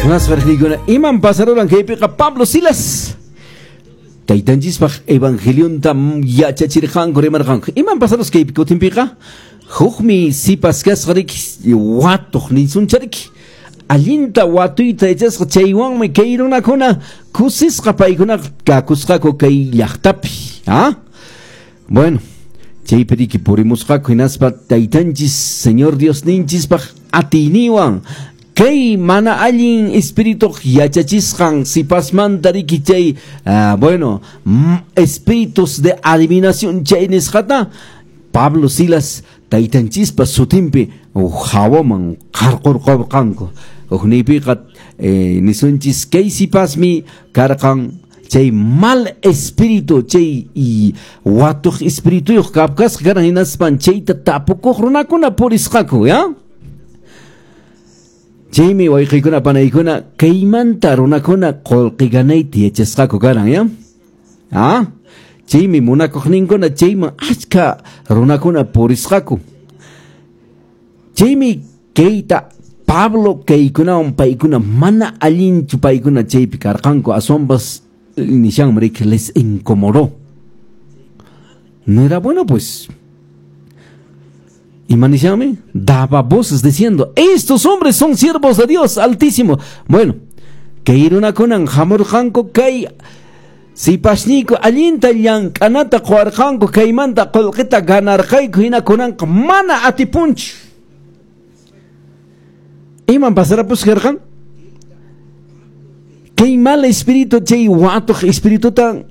Munasqa iman pasaruran kaypiqa Pablo Silas taytanchispaq evangelionta yachachirqanku rimarqanku. Iman pasarus kaypi kutinpiqa? Hukmi sipas kasqa riki watuq ninsunchariki. Allinta watuyta yachasqa chaywanmi kay runakuna kusisqa paykuna kakusqaku kay llaqtapi. ¿Ah? Bueno, chaypi riki purimusqaku hinaspa taytanchis Señor Diosninchispaq atiyniwan kay mana allin espíritu yachachisqan sipasmanta riki chay bueno, espíritus de adivinación chay nisqata Pablo Silas taytanchispa sutinpi hawaman qarqurqurqanku. Hukniypiqa nisunchis kay sipasmi karqan chay mal espíritu chay watuq espirituyuq kapkasqa karan hinaspan chayta tapukuq runakuna purisqaku, ya? Chaymi wayqiykuna panaykuna kaymanta runakuna qullqi ganayta yachasqaku karan, ya? Ah? Chaymi munakuqninkuna chayman achka runakuna purisqaku. Chaymi kayta Pablo kaykunawan paykuna mana allinchu paykuna chaypi karqanku aswanpas nishanmi riki les incomodó. No era bueno, pues. Ima nishanmi daba voces diciendo: estos hombres son siervos de Dios Altísimo. Bueno, kay runakunan hamurqanku kay sipasniyku allinta llank'anata quwarqanku kaymanta qullqita ganarqayku hina kunanqa mana atipunchu. Iman pasarapus karqan? Kay mal espíritu chay watuq espirituta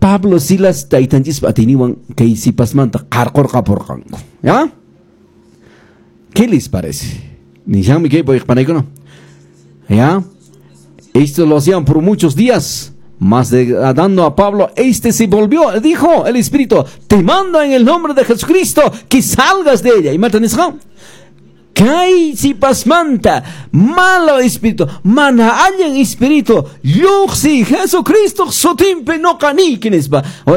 Pablo Silas taytanchispa atiyninwan kay sipasmanta qarqurqapurqanku. ¿Ya? ¿Qué les parece? Nishanmi kay panaykuna. ¿Ya? Esto lo hacían por muchos días. Más de, dando a Pablo, este se volvió, dijo el Espíritu: te mando en el nombre de Jesucristo que salgas de ella. Y matan kay sipasmanta malo espíritu, mana allin espíritu, lluqsi Jesucristo sutinpi noqa niyki nispa.